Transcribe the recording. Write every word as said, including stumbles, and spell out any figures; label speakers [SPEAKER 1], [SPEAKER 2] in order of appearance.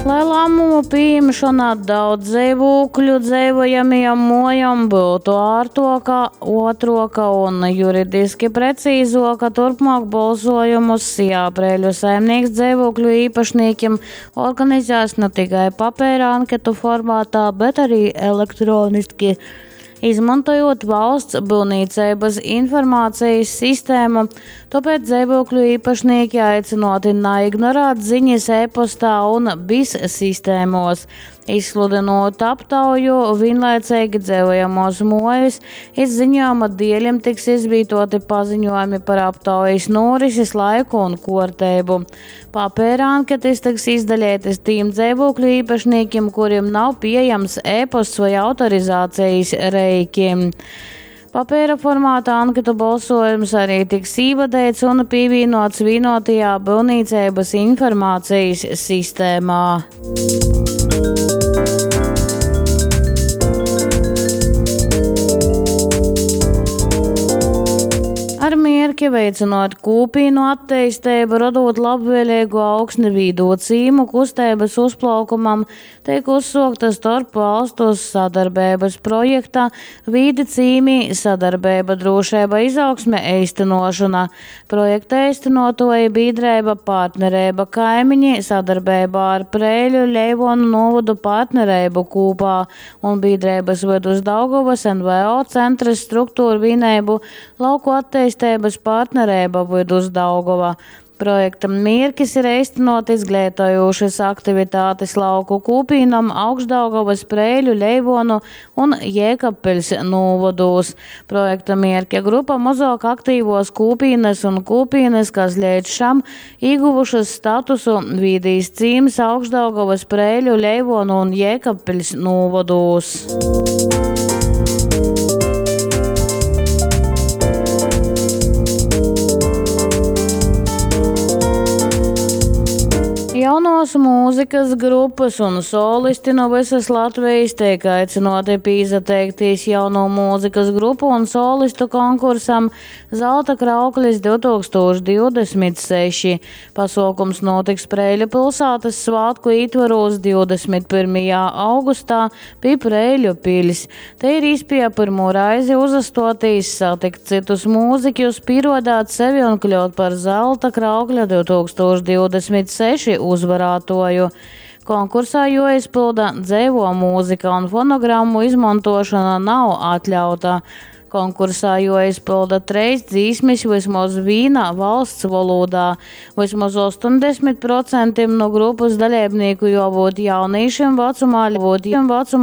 [SPEAKER 1] Lai lāmumu pījimšona daudzdzeivūkļu dzeivojamajom muojom byutu ārtuoka, uotruoka un juridiski precīzuoka, turpmuok bolsuojumus SIA Preiļu saimnieks dzeivūkļu īpašnīkim organizēs na tikai papeira anketu formātā, bet arī elektroniski, izmontojot valsts byuvnīceibys informācijas sistēmu, tuopēc dzeivūkļu īpašnīki aicynuoti naignorēt ziņas e-postā un BIS sistēmuos. Izsludynot aptauju, vīnlaiceigi dzeivojamuos muojas iz ziņojuma dielim tiks izvītuoti paziņojumi par aptaujas norises laiku un kuorteibu. Papeira anketas tiks izdaleitys tīm dzeivūkļu īpašnīkim, kurim nav pieejams e-posts vai autorizācijas reiki. Papeira formāta anketu bolsojums arī tiks īvadeits un pīvīnots vienotajā byuvnīceibys informācijas sistēmā. Ar mierki veicinot kūpīnu atteistību, rodot labvēlīgu augsni vīdo cīmu kusteibys uzplaukumam, teik uzsuokta storpvalstu sadarbības projekta Vīdi cīmi sadarbība, drošība, izaugsme, eistynuošona. Projekta eistynuotuoji bīdreiba Partnereiba kaimiņi sadarbībā ar Preiļu Leivonu novadu partnereibu kūpā un bīdreibys Vidusdaugavas N V O centrs struktūrvīneibu Lauku atteisteibys partnereiba Vidusdaugava. Projekta mierkis ir eistynuot izgleitojūšys aktivitātis lauku kūpīnom Augšdaugavas, Preiļu, Leivonu un Jēkabpiļs nūvodūs. Projekta mierķa grupa mozuok aktīvuos kūpīnys un kūpīnys, kas leidz šam īguvušys statusu Vīdīs cīms Augšdaugavas, Preiļu, Leivonu un Jēkabpiļs nūvodūs. Jaunuos mūzikas grupys un solisti nu vysys Latvejis teik aicynuoti pīsateiktīs jauno mūzikas grupu un solistu konkursam Zelta krauklis divi tūkstoši divdesmit seši. Pasuokums nūtiks Preiļu pilsātys svātku ītvorūs divdesmit pyrmajā augustā pi Preiļu piļs. Te ir īspieja pyrmū reizi uzastuotīs, satikt cytus mūziķus, pīruodāt sevi un kļūt par Zelta kraukļa divi tūkstoši divdesmit seši uzvarātuoju. Konkursā juoizpylda dzeivuo mūzika un fonogrammu izmontošona nav atļauta. Konkursā juoizpylda treis dzīsmis vysmoz vīna valsts volūdā. Vysmoz ostoņdesmit procentim nu grupys daleibnīku juobyut jaunīšim vacumā, būt vacumā